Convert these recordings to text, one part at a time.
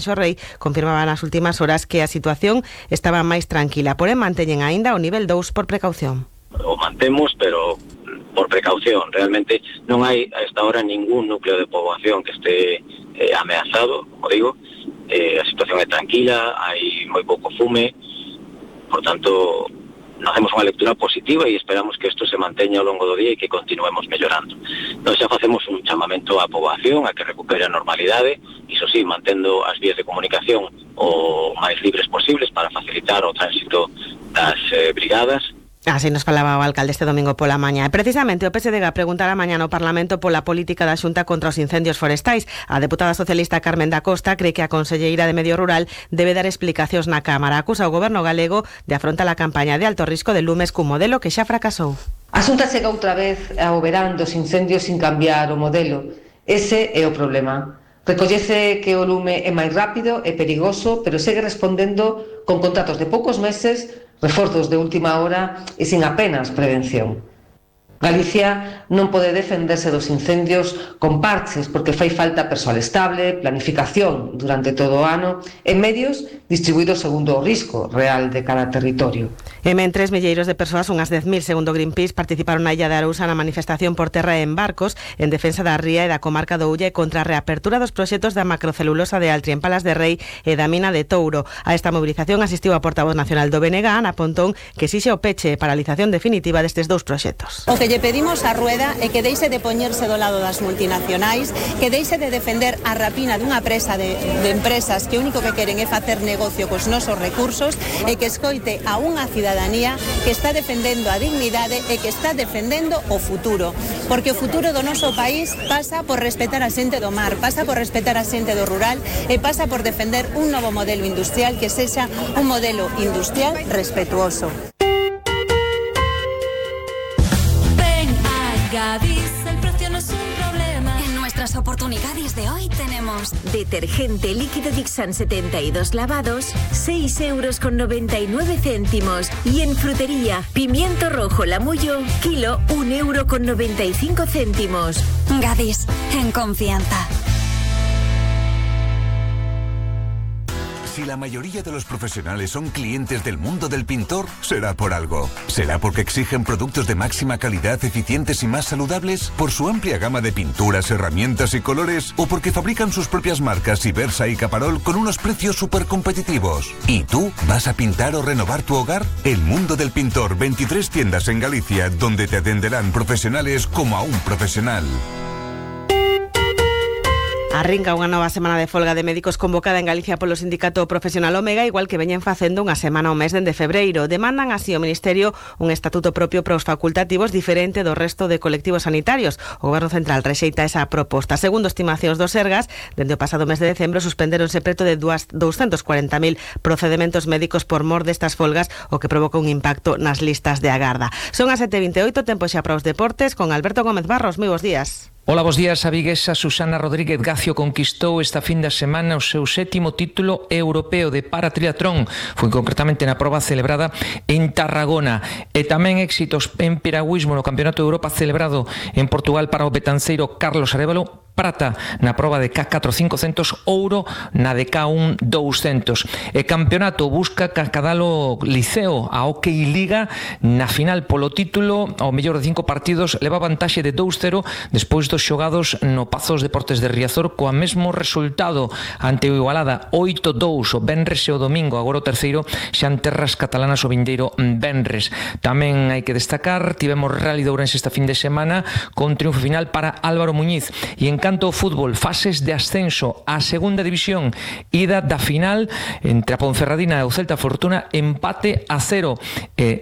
Rei confirmaba nas últimas horas que a situación estaba máis tranquila, porén manteñen aínda o nivel 2 por precaución. O mantemos, pero por precaución. Realmente non hai a esta hora ningún núcleo de poboación que este ameazado, como digo. A situación é tranquila, hai moi pouco fume, por tanto, non hacemos unha lectura positiva e esperamos que isto se manteña ao longo do día e que continuemos mellorando. Nós xa facemos un chamamento á poboación a que recupere a normalidade, iso sí, mantendo as vías de comunicación o máis libres posibles para facilitar o tránsito das brigadas. Así nos falaba o alcalde este domingo pola mañá. E precisamente o PSDG preguntará mañá no Parlamento pola política da Xunta contra os incendios forestais. A deputada socialista Carmen da Costa cree que a conselleira de Medio Rural debe dar explicacións na Cámara. Acusa o goberno galego de afrontar a campaña de alto risco de lumes cun modelo que xa fracasou. A Xunta chega outra vez ao verán dos incendios sin cambiar o modelo. Ese é o problema. Recollece que o lume é máis rápido e perigoso, pero segue respondendo con contratos de poucos meses, reforzos de última hora e sin apenas prevención. Galicia non pode defenderse dos incendios con parches porque fai falta persoal estable, planificación durante todo o ano e medios distribuídos segundo o risco real de cada territorio. E mentres milleiros de persoas, unhas 10.000 segundo Greenpeace, participaron na Illa de Arousa na manifestación por terra e en barcos en defensa da ría e da comarca do Ulla e contra a reapertura dos proxectos da macrocelulosa de Altri en Palas de Rei e da mina de Touro. A esta movilización asistiu a portavoz nacional do BNG, Ana Pontón, que exixe o peche e paralización definitiva destes dous proxectos. O que lle pedimos a Rueda é que deixe de poñerse do lado das multinacionais, que deixe de defender a rapina dunha presa de empresas que o único que queren é facer negocio cos nosos recursos e que escoite a unha cidadanía que está defendendo a dignidade e que está defendendo o futuro, porque o futuro do noso país pasa por respetar a xente do mar, pasa por respetar a xente do rural e pasa por defender un novo modelo industrial que sexa un modelo industrial respetuoso. Gadis, el precio no es un problema. En nuestras oportunidades de hoy tenemos detergente líquido Dixan 72 lavados, 6,99 €. Y en frutería, pimiento rojo Lamullo, kilo, 1,95 €. Gadis, en confianza. Si la mayoría de los profesionales son clientes del mundo del pintor, será por algo. ¿Será porque exigen productos de máxima calidad, eficientes y más saludables? ¿Por su amplia gama de pinturas, herramientas y colores? ¿O porque fabrican sus propias marcas Ibersa y Caparol con unos precios súper competitivos? ¿Y tú vas a pintar o renovar tu hogar? El mundo del pintor, 23 tiendas en Galicia, donde te atenderán profesionales como a un profesional. Arrinca unha nova semana de folga de médicos convocada en Galicia polo sindicato profesional Omega, igual que veñen facendo unha semana ao mes dende febreiro. Demandan así ao Ministerio un estatuto propio para os facultativos diferente do resto de colectivos sanitarios. O Goberno Central rexeita esa proposta. Segundo estimacións do Sergas, dende o pasado mes de decembro suspendéronse preto de 240.000 procedementos médicos por mor destas folgas, o que provoca un impacto nas listas de agarda. Son as 7:28, tempo xa para os deportes, con Alberto Gómez Barros. Moi bons días. Hola, bos días. A viguesa Susana Rodríguez Gacio conquistou esta fin de semana o seu 7º título europeo de paratriatlón. Foi concretamente na proba celebrada en Tarragona. E tamén éxitos en piragüismo no Campeonato de Europa celebrado en Portugal para o betanceiro Carlos Arévalo. Prata na proba de K4 500, ouro na de K1 200. E campeonato busca Cascadalo Liceo, a Hockey Liga na final polo título, ao mellor de 5 partidos, leva vantaxe de 2-0 despois dos xogados no Pazos Deportes de Riazor, coa mesmo resultado ante o Igualada 8-2 o venres e o domingo, agora o terceiro xa en terras catalanas o vindeiro venres. Tamén hai que destacar, tivemos Rally de Ourense esta fin de semana con triunfo final para Álvaro Muñiz. E en canto ao fútbol, fases de ascenso á segunda división, ida da final entre a Ponferradina e o Celta Fortuna, empate a 0.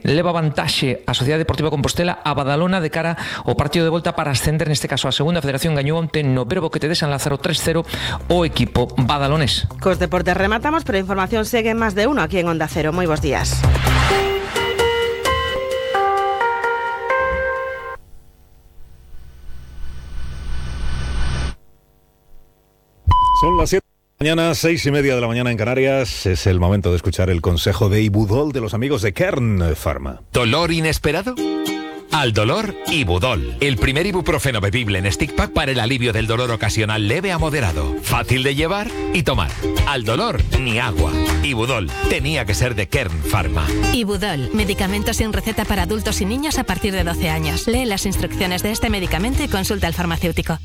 Leva vantaxe a Sociedade Deportiva Compostela a Badalona de cara ao partido de volta para ascender, neste caso a segunda. Federación gañou onte no Verbo que te de San Lázaro 3-0 o equipo badalonés. Cos deportes rematamos, pero a información segue en Más de Uno aquí en Onda Cero. Moi bons días. Son las 7 de la mañana, 6:30 de la mañana en Canarias. Es el momento de escuchar el consejo de Ibudol de los amigos de Kern Pharma. ¿Dolor inesperado? Al dolor, Ibudol. El primer ibuprofeno bebible en stick pack para el alivio del dolor ocasional leve a moderado. Fácil de llevar y tomar. Al dolor, ni agua. Ibudol. Tenía que ser de Kern Pharma. Ibudol. Medicamento sin receta para adultos y niños a partir de 12 años. Lee las instrucciones de este medicamento y consulta al farmacéutico.